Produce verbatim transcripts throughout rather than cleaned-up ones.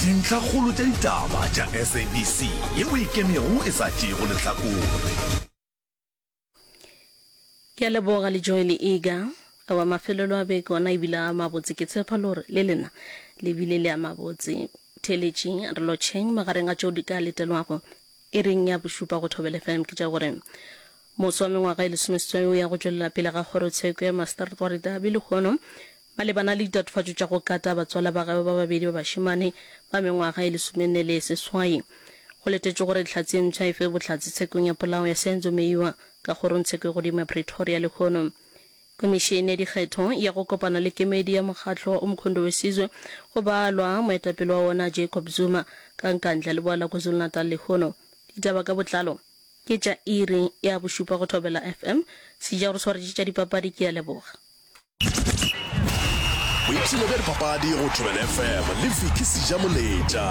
Dintlhakgolo tša ditaba tša S A B C yeo e ikemego e sa tšeego lehlakore. Ke a leboga le Joy le Iga. Aowa mafelelo a beke ona ebile a mabotse ke tshepa le gore le lena le bile le a mabotse. Theeletšing re lotšheng magareng a tšeo di ka letelwago iring ya bošupa go Thobela F M ke tša gore moso wa mengwaga e lesomeseswai o ya go tšwelela pele ga kgorotsheko ya Mastertwari Derby lehono malebana le ditatofatšo tša go kata batswala ba gagwe ba babedi ba bašemane ba mengwaga e lesomenne le seswai. Go letetšwe gore hlatse e mpsha e fe bohlatse tshekong ya polao ya Senzo Meyiwa ka kgorongtsheko e godimo ya Pretoria lehono. Komišene ya dikgetho ya go kopana le kemedi ya mokgatlo wa Umkhonto weSizwe go balwa moetapele wa wona Jacob Zuma ka Nkandla leboa la KwaZulu-Natal lehono. Ditaba ka botlalo ke tša iri ya bošupa go Thobela F M. Seja o re swaretše tša dipapadi ke a leboga. Boipshino bja dipapadi go Thobela F M le Vicky Sejamoletša.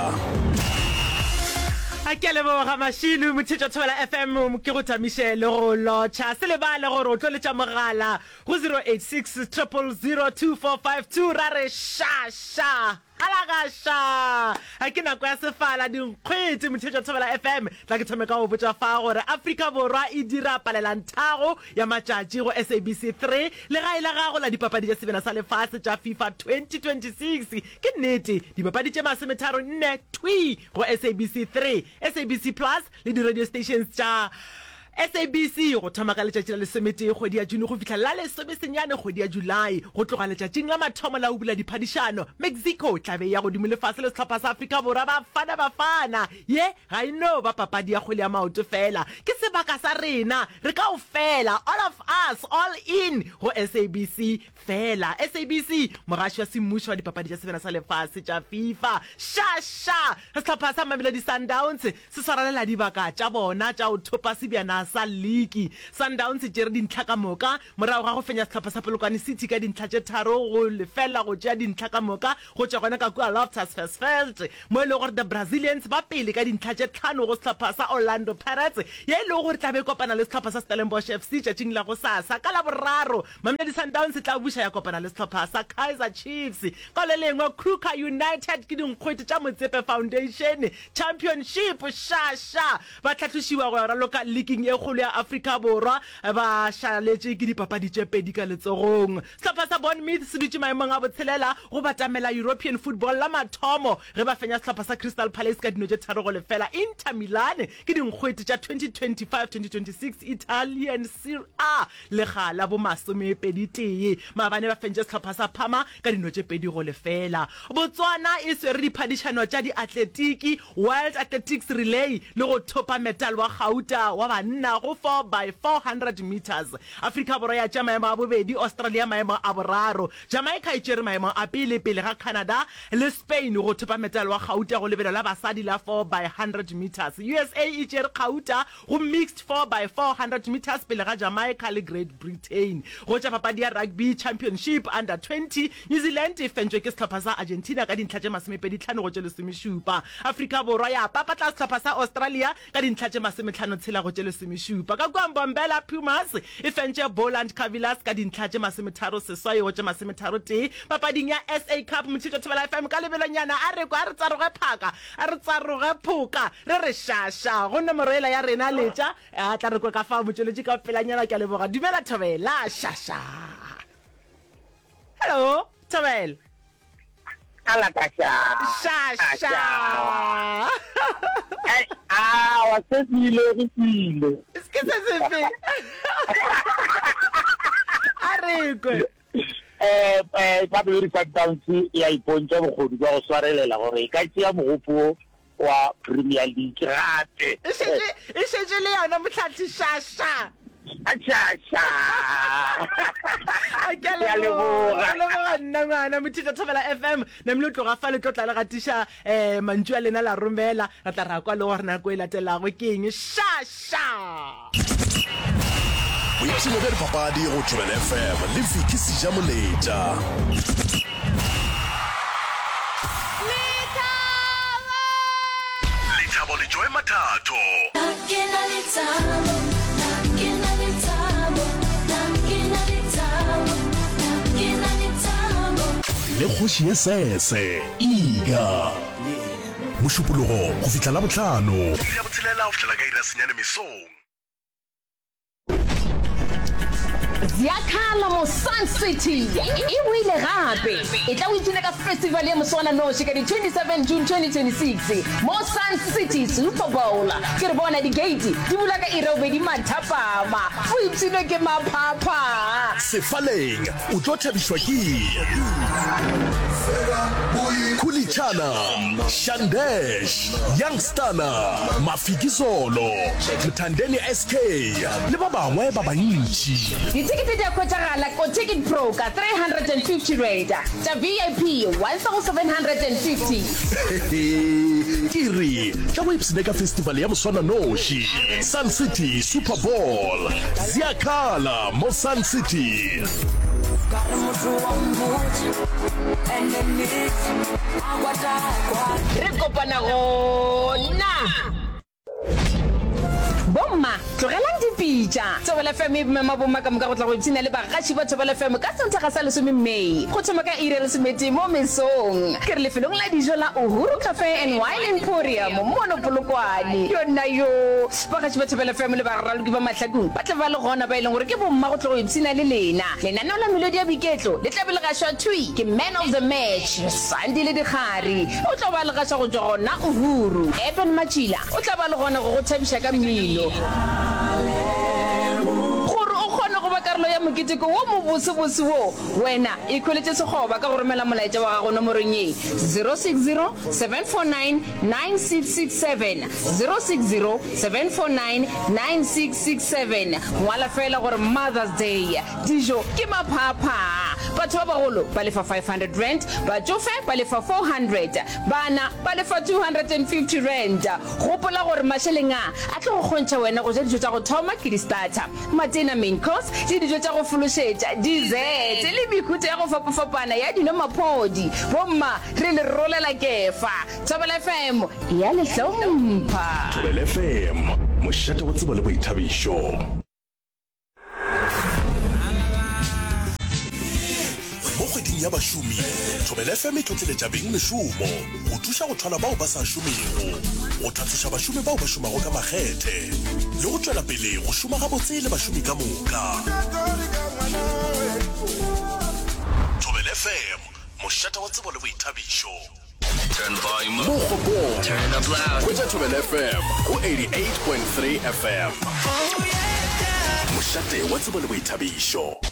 A ke a leboga Mašilu Mothetšwa Thobela F M ke go tamiše le go lotšha. Se lebale gore o tlo letša mogala go zero eight six triple zero two four five two ra re ša ša halagaša. A ke nako ya sefala dinkgwete Mothetšwa Thobela F M. Tla ke thome ka go botša fa gore Afrika Borwa e dira palelanthago ya matšatši go S A B C three legae la gago la dipapadi tša sebjana sa lefase tša FIFA twenty twenty-six. Ke nnete dipapadi tše masometharo nne thwi go S A B C three, S A B C Plus le di-radio stations tša S A B C go thoma ka letšatši la lesometee kgwedi ya June go fihla la lesomesenyane kgwedi ya July. Go tloga letšatšing la mathomo la go bula diphadišano, Mexico tla be e ya godimo lefase le sehlopha sa Afrika Borwa Bafana Bafana. Ye ga e no ba papadi ya kgwele ya maoto fela, ke sebaka sa rena re kaofela, all of us, all in go S A B C fela. S A B C, mogaši wa semmušo wa dipapadi tša sebjana sa lefase tša FIFA. Ša ša! Sehlopha sa Mamelodi Sundowns se swarelela dibaka tša bona tša go thopa sebjana sa liki. Sundowns e tšere dintlha ka moka morago ga go fenya sehlopha sa Polokwane City ka dintlha tše tharo go lefela go tšea dintlha ka moka go tšwa gona ka kua Loftus Versfeld mo e lego gore the Brazilians ba pele ka dintlha tše tlhano go sehlopha sa Orlando Pirates ye e lego gore tla be e kopana le sehlopha sa Stellenbosch F C tšatšing la gosasa ka Laboraro. Mamelodi Sundowns e tla buša ya kopana le sehlopha sa Kaizer Chiefs. Ka le lengwe Kruger United ke dinkgwete tša Motsepe Foundation Championship ša ša ba tlhahlošiwa go ya raloka leaking e kgolo ya Afrika Borwa ba šaletše ke dipapadi tše pedi ka letsogong. Sehlopha sa Bournemouth se dutše maemong a botshelela go batamela European football la mathomo ge ba fenya sehlopha sa Crystal Palace ka dino tše tharo go lefela. Inter Milan ke dinkgwete tša twenty twenty-five twenty twenty-six Italian Serie A lega la bo masomepedi tee maabane ba fentše sehlopha sa Parma ka dino tše pedi go lefela. Botswana e swere diphadišano tša diatletiki World Athletics Relay le go thopa metal wa gauta wa banna go four by four hundred meters. Afrika Borwa ya tšea maemo a bobedi, Australia maemo a boraro. Jamaica e tšere maemo a pele pele ga Canada le Spain go thopa metal wa gauta go lebelo la basadi la four by hundred meters. U S A e tšere gauta go mixed four by four hundred meters pele ga Jamaica le Great Britain. Go tša papadi ya Rugby Championship Under twenty, New Zealand e fentšwe ke sehlopha sa Argentina ka dintlha tše masomepedi tlhano go tše lesomešupa. Afrika Borwa ya papatla sehlopha sa Australia ka dintlha tše masometlhano tshela go tše lesomešupa. Ka kua Mbombela, Pumas e fentše Boland Cavaliers ka dintlha tše masometharo seswai go tše masometharo tee papading ya S A Cup. Motšhitšo Thobela F M ka lebelonyana a re kwa a re tsaroge phaka a re tsaroge phoka re re šaša go nomoro ela ya rena letša a tla re kwe ka fa motšweletši ka pelanyana. Ke a leboga. Dumela Thobela, šaša. Hello Thobela. Alakasha. Šaša. Awa, se se ile go ile. Ke se sefe? A re kwe. Eh eh Mamelodi Sundowns ya ipontša bokgoni bja go swarelela gore e ka tšea mogopo wa Premier League gape. E šetše e šetše le yona motlhahli šaša. Šaša. Ke a leboga. Leboga nna ngwana Mothetša Thobela F M. Namile o tloga fa le tlo tla le gatiša um mantšu a lena la romela ra tla ra kwa le gore nako e latelago ke eng šaša. Boipshino bja dipapadi go Thobela F M le Vicky Sejamoletša. Lethabo! Lethabo le Joy Mathatho. Ke na lethabo, ke na lethabo, ke na lethabo, ke na lethabo. Le kgoši ye sese Iga. Yeah. Mošupologo go fihla Labohlano. Iri ya botshelela go fihlela ka iri ya senyane mesong. Ziyakhala mo Sun City e boile gape. E tla o ipshine ka festival ya moswananoši ka di twenty seven June twenty twenty six mo Sun City Super Bowl. Ke re bona di-gate di bula ka iri ya bobedi mathapama. O ipshinwe ke maphapha. Sefaleng o tlo thabišwa ke Khulichana, Shandesh, Young Stunna, Mafikizolo, Mthandeni S K le ba bangwe ba bantši. Dithekete di a hwetšagala ko Ticket Pro ka three hundred and fifty rand, tša V I P one thousand seven hundred and fifty. Hehe, ke re tla go ipshine ka festival ya moswananoši, Sun City Super Bowl. Ziyakhala mo Sun City. Re kopana gona. Bomma, tlogelang dipitša. Thobela F M e mema bomma ka moka go tla go ipshina le bagaši ba Thobela F M ka Sontaga sa lesome May go thoma ka iri ya lesometee mo mesong. Ke re lefelong la dijo la Uhuru Cafe and Wine Emporium mono Polokwane. Yonna yo! Bagaši ba Thobela F M le baraloki ba mahlakong ba tla ba le gona ba e leng gore ke bomma go tla go ipshina le lena. Lenaneo la Melodi ya Boiketlo le tla be le gašwa thwi ke Man of the Match, Sandile Dikgari. O tla ba le gaša go tšwa gona Uhuru. Eben Matšila o tla ba le gona go go thabiša ka mmino. Gore o kgone go ba karolo ya moketeko wo mobosebose wo, wena ikhweletše sekgoba ka go romela molaetša wa gago nomorong ye, zero six zero, seven four nine, nine six six seven, zero six zero, seven four nine, nine six six seven. Ngwala feela gore Mother's Day. Dijo ke maphaaphaa. Batho ba bagolo ba lefa five hundred rand, batšofe ba lefa four hundred, bana ba lefa two hundred and fifty rand. Gopola gore mašeleng a a tlo go kgontšha wena go ja dijo tša go thoma ke di-starter, matena, main course, le dijo tša go fološetša, dessert, le mehuta ya go fapafapana ya dino maphodi. Bomma, re le rolela kefa. Thobela F M e a le hlompha. Thobela F M, mošate wa tsebo le boithabišo. Mo kgweding ya bašomi, Thobela F M e tlotleletša beng mešomo go thuša go thwala bao ba sa šomego, go tlhatloša bašomi bao ba šomago ka makgethe le go tšwela pele go šoma gabotse le bašomi ka moka. Thobela F M, mošate wa tsebo le boithabišo. Mokgopong, hwetša Thobela F M go eighty-eight point three F M. Mošate wa tsebo le boithabišo.